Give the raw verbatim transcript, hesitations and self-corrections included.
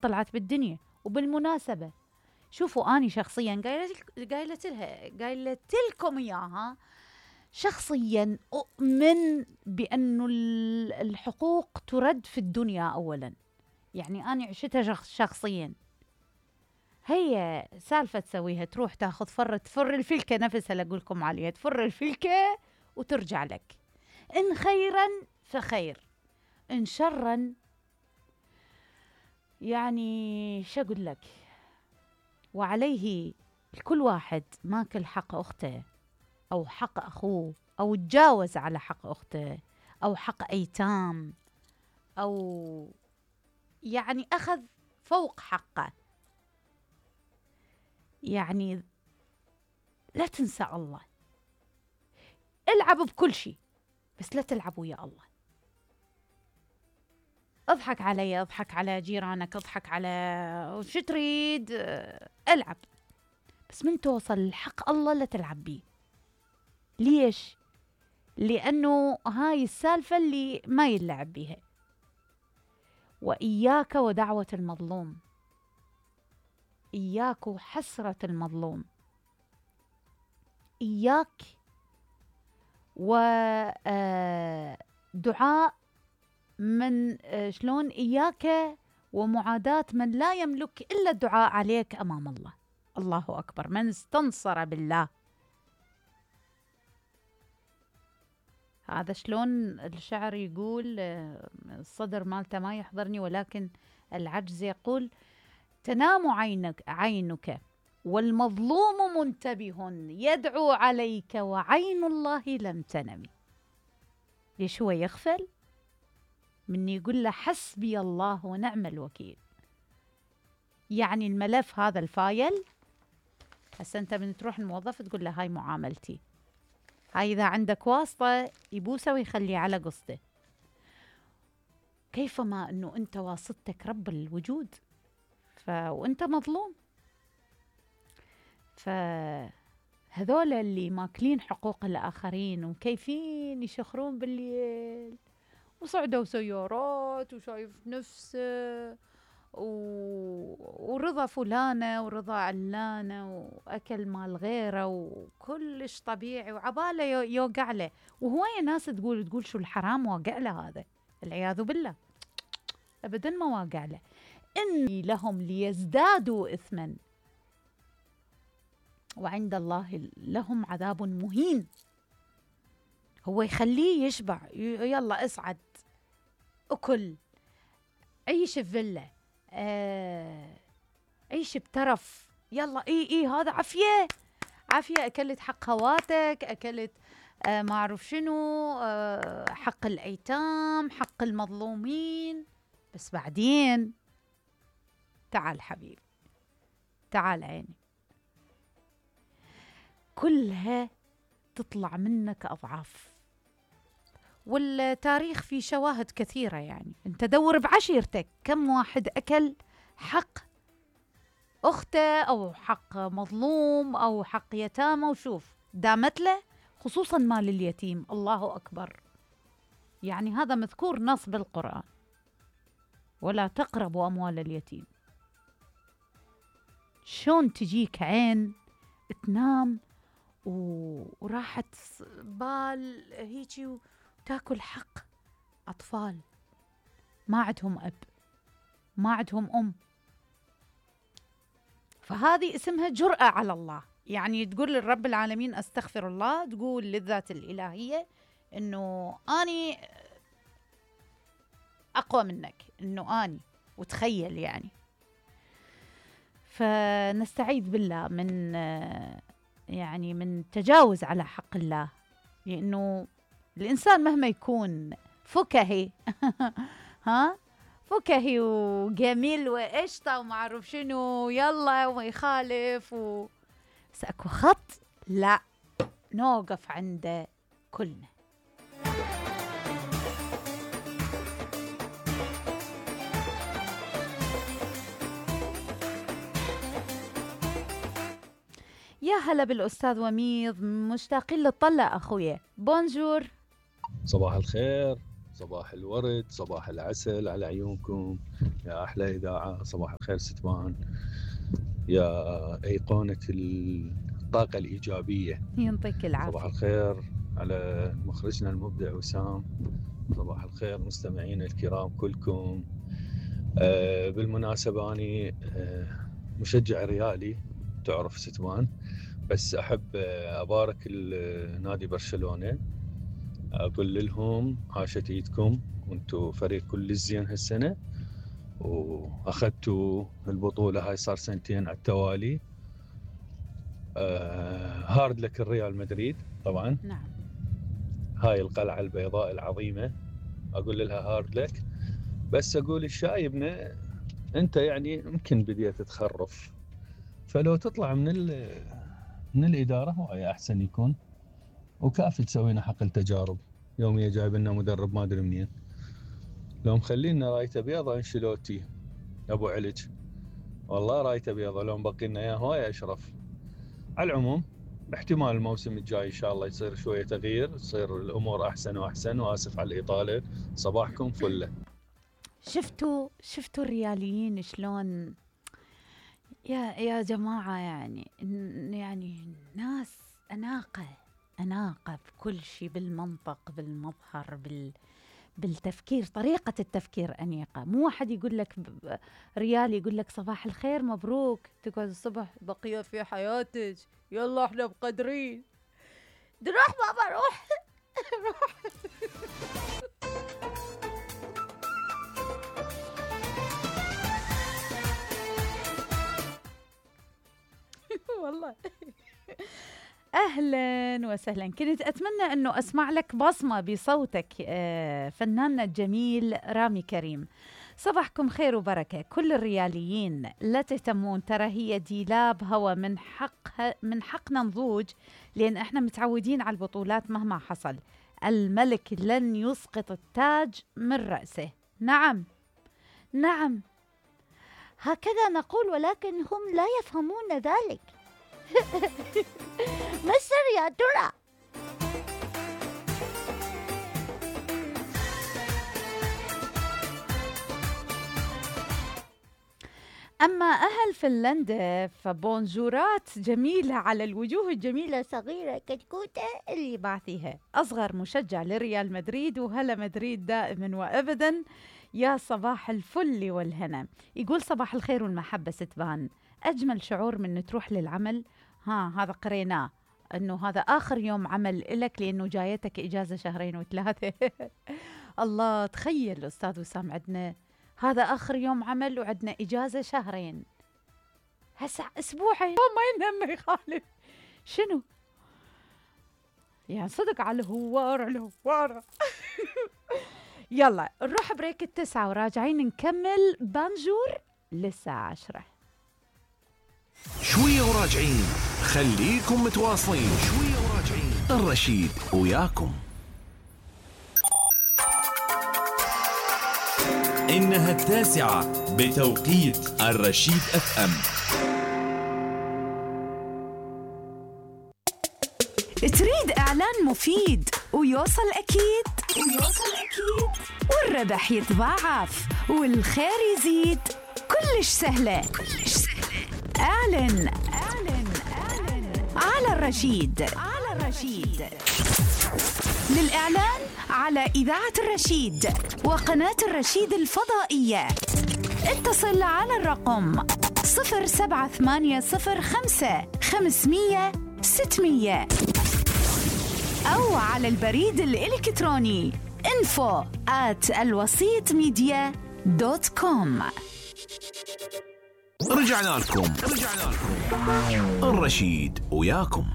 طلعت بالدنيا. وبالمناسبة شوفوا أني شخصيا قايلت لها قايلت لكم إياها شخصيا، أؤمن بأنه الحقوق ترد في الدنيا أولا. يعني أنا عشتها شخصيا. هي سالفة تسويها، تروح تاخذ فرة تفر الفلكة نفسها اللي أقولكم عليها، تفر الفلكة وترجع لك. إن خيرا فخير، إن شرا يعني شو أقول لك. وعليه كل واحد ماكل حق أخته أو حق أخوه أو تجاوز على حق أخته أو حق أيتام أو يعني أخذ فوق حقه. يعني لا تنسى الله، العب بكل شيء بس لا تلعب ويا الله. اضحك علي، اضحك على جيرانك، اضحك على شو تريد، العب بس من توصل الحق الله لا تلعب بيه. ليش؟ لأنه هاي السالفة اللي ما يلعب بيها. وإياك ودعوة المظلوم، إياك وحسرة المظلوم، إياك ودعاء من شلون إياك ومعاداة من لا يملك إلا الدعاء عليك أمام الله. الله أكبر. من استنصر بالله، هذا شلون الشعر يقول، الصدر مالته ما يحضرني ولكن العجز يقول: تنام عينك عينك والمظلوم منتبه يدعو عليك وعين الله لم تنم. ليش هو يغفل؟ من يقول له حسبي الله ونعم الوكيل. يعني الملف هذا الفايل، هسه انت من تروح الموظف تقول له هاي معاملتي، هاي إذا عندك واسطة يبوسه ويخليه على قصته. كيفما أنه أنت واسطتك رب الوجود، ف... وأنت مظلوم. فهذول اللي ماكلين حقوق الآخرين وكيفين يشخرون بالليل وصعدوا سيارات وشايف نفسه و... ورضا فلانة ورضا علانة وأكل مال غيره وكلش طبيعي وعباله يوقع له. وهواية ناس تقول تقول شو الحرام واقع له، هذا العياذ بالله أبدا ما واقع له. إني لهم ليزدادوا إثما وعند الله لهم عذاب مهين. هو يخليه يشبع، يلا اصعد أكل، عيش بفيلا، آه، عيش بترف، يلا اي اي هذا عافية عافية. أكلت حق خواتك، أكلت آه ما أعرف شنو، آه حق الأيتام، حق المظلومين. بس بعدين تعال حبيبي، تعال عيني، كلها تطلع منك أضعاف. والتاريخ فيه شواهد كثيرة. يعني انت دور بعشيرتك كم واحد أكل حق أخته أو حق مظلوم أو حق يتامى وشوف دامت له، خصوصا مال اليتيم. الله أكبر. يعني هذا مذكور نص بالقرآن: ولا تقربوا أموال اليتيم. شون تجيك عين تنام وراحت بال هيجي وتاكل حق أطفال ما عندهم أب ما عندهم أم. فهذه اسمها جرأة على الله. يعني تقول للرب العالمين أستغفر الله، تقول للذات الإلهية إنه أني أقوى منك، إنه أني، وتخيل يعني. فنستعيذ بالله من يعني من تجاوز على حق الله. لأنه الإنسان مهما يكون فكهي ها فكهي وجميل وقشطة وما أعرف شنو يلا وما يخالف و... بس أكو خط لا نوقف عنده كلنا. يا هلا بالأستاذ وميض، مشتاقين للطلة أخويا. بونجور. صباح الخير، صباح الورد، صباح العسل على عيونكم يا أحلى إذاعة. صباح الخير ستوان، يا أيقونة الطاقة الإيجابية. ينطيك العافية. صباح الخير على مخرجنا المبدع وسام. صباح الخير مستمعين الكرام كلكم. آه بالمناسبة أنا آه مشجع ريالي تعرف ستوان، بس أحب آه أبارك نادي برشلونة، أقول لهم عاشت إيدكم وأنتوا فريق كل الزين هالسنة، وأخذتوا البطولة هاي صار سنتين على التوالي. آه هارد لك الريال مدريد طبعا. نعم. هاي القلعة البيضاء العظيمة أقول لها هارد لك، بس أقول الشايبنا أنت يعني يمكن بديت تخرف، فلو تطلع من من الإدارة هو أحسن يكون، وكافي تسوينا حقل تجارب يومية. جايب لنا مدرب ما أدري منين، لو مخلينا رايته بيضة انشيلوتي أبو علج، والله رايته بيضة لو مبقي لنا إياه هواي أشرف. على العموم باحتمال الموسم الجاي إن شاء الله يصير شوية تغيير، تصير الأمور أحسن وأحسن، وآسف على الإطالة. صباحكم فلة. شفتوا شفتوا الرياليين شلون يا يا جماعة، يعني يعني ناس أناقة أناقة بكل شيء، بالمنطق بالمظهر بال بالتفكير، طريقة التفكير أنيقة. مو واحد يقول لك ريالي يقول لك صباح الخير مبروك تقعد الصبح بقية في حياتك يلا احنا مقدرين روح بابا روح روح. والله أهلا وسهلا. كنت أتمنى أنه أسمع لك بصمة بصوتك فناننا الجميل رامي كريم. صباحكم خير وبركة كل الرياليين، لا تهتمون، ترى هي ديلاب هوا، من حق من حقنا نضوج لأن احنا متعودين على البطولات مهما حصل. الملك لن يسقط التاج من رأسه. نعم نعم هكذا نقول، ولكن هم لا يفهمون ذلك. مصر يا ترى. أما أهل فنلندا فبونجورات جميلة على الوجوه الجميلة، صغيرة كتكوتة اللي بعثيها. أصغر مشجع لريال مدريد، وهلا مدريد دائما وأبدا. يا صباح الفل والهنا. يقول صباح الخير والمحبة ستبان، أجمل شعور من تروح للعمل. ها هذا قريناه أنه هذا آخر يوم عمل لك لأنه جايتك إجازة شهرين وثلاثة. الله، تخيل أستاذ وسام عندنا هذا آخر يوم عمل وعندنا إجازة شهرين، هسه أسبوعين ما ينهم ما يخالف. شنو يعني صدق على الهوارة الهوارة. يلا نروح بريك التسعة وراجعين نكمل بانجور للساعة عشرة. شوية وراجعين، خليكم متواصلين. شوية وراجعين، الرشيد وياكم. إنها التاسعة بتوقيت الرشيد اف ام. تريد إعلان مفيد ويوصل أكيد ويوصل أكيد والربح يتضاعف والخير يزيد، كلش سهلة كلش سهلة. اعلن اعلن اعلن على الرشيد على الرشيد. للإعلان على إذاعة الرشيد وقناة الرشيد الفضائية اتصل على الرقم صفر سبعة ثمانية صفر خمسة خمسمية ستمية أو على البريد الإلكتروني info at الوسيط ميديا دوت كوم. رجعنا لكم رجعنا لكم الرشيد وياكم.